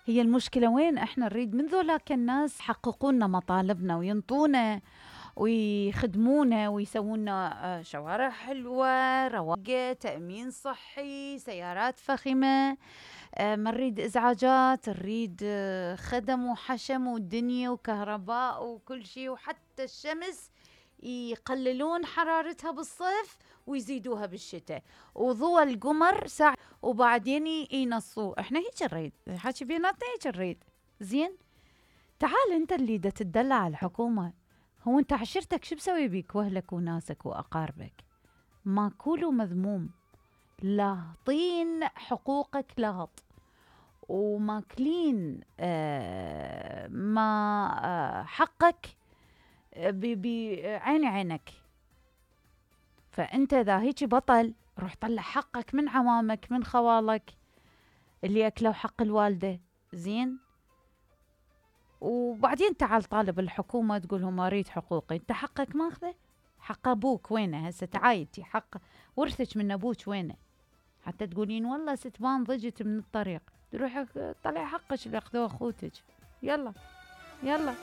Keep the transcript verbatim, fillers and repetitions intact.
هي المشكلة وين؟ احنا نريد من ذولاك الناس يحققون لنا مطالبنا وينطونا ويخدمونا ويسوون لنا شوارع حلوة، رواقة، تأمين صحي، سيارات فخمة، ما نريد إزعاجات، نريد خدم وحشم ودنيا وكهرباء وكل شي، وحتى الشمس يقللون حرارتها بالصيف ويزيدوها بالشتاء، وضوء القمر ساعة وبعدين ينصوه. احنا هيك نريد، حكي بيناتنا هيك نريد. زين، تعال انت اللي دا تدلع على الحكومة، هو انت عشيرتك شو بسوي بيك واهلك وناسك واقاربك؟ ماكول ومذموم، لاهطين حقوقك لغط، وماكلين آه ما آه حقك بعين عينك. فأنت إذا هيك بطل، روح طلع حقك من عمامك من خوالك اللي أكلوا حق الوالدة. زين، وبعدين تعال طالب الحكومة تقولهم أريد حقوقي. أنت حقك ماخذه؟ حق أبوك وينه هسه؟ تعايتي حق ورثك من أبوك وينه؟ حتى تقولين والله ستبان ضجت من الطريق، تروح طلع حقك اللي أخذوه أخوتك. يلا يلا.